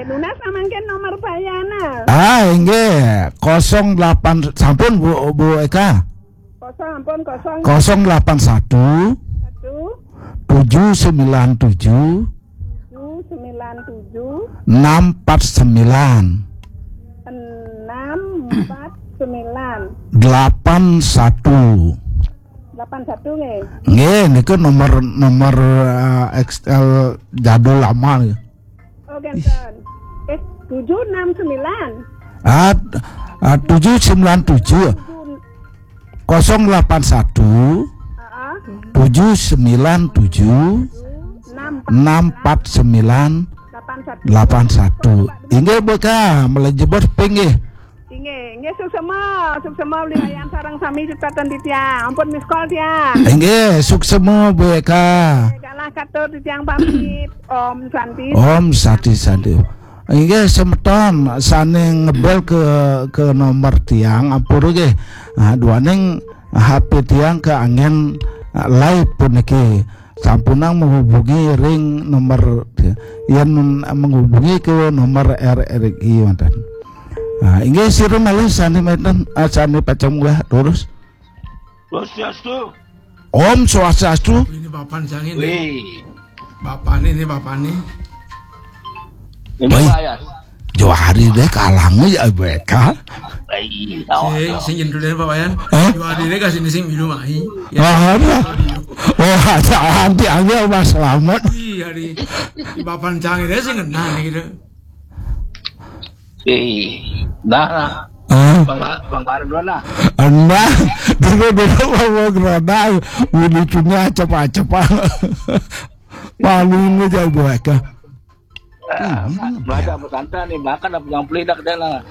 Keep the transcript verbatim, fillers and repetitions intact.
Nunas mangkin nomor payana. Ah, inggih, kosong delapan, sampun Bu, Bu Eka. Kosong, ampun, kosong. Kosong delapan satu. Satu. Tujuh sembilan tujuh. Tujuh sembilan tujuh. Enam empat sembilan. Enam empat sembilan. Delapan satu. Delapan satu nggih. Nggih, niku nomor, nomor eh, X L jadul lama nggih. Oh, genten. Eh, tujuh enam sembilan. Ah, ah, tujuh sembilan tujuh. Kosong delapan satu. Heeh. Tujuh sembilan tujuh. Enam empat sembilan. Delapan satu. Inggih, Bu Eka, melejebos pinggih. Inggih, inggih, suksema, suksema Beli Wayan sareng sami ciptaken titiang. Ampun miskol tiang. Inggih, suksema Bu Eka. Kalah katur titiang pamit. Om Santi. Om Santi Santi. Inggih, semeton sane ngebel ke ke nomor tiang ampun nggih. Ah, duaning H P tiang ke angin ah, live puniki. Sampunang menghubungi ring nomor yen menghubungi ke nomor R R I manten. Nah, inggih sira malih sane meten ah, sane pacang munggah terus. Swastiastu. Om Swastiastu. Ini bapan sangin. Wih. Bapan ini bapan ini. Ini Baik. Pak ya. Johari deh kalang ya beka. Sing sing jendu deh Pak Wayan. Hah? Johari deh kasih sing milu mai. Ya. Ah, ada. Oh, ada anti angel Mas Selamat. Iya di di bapan sangin deh sing ngenah gitu. Eh, nah, nah. Ah. Bang Bang Bar dulu lah. Anda dulu dulu mau gerada. Ini cuma cepat-cepat. Paling aja beka. Baca pesantren nih, makan apa yang beli dak deh lah.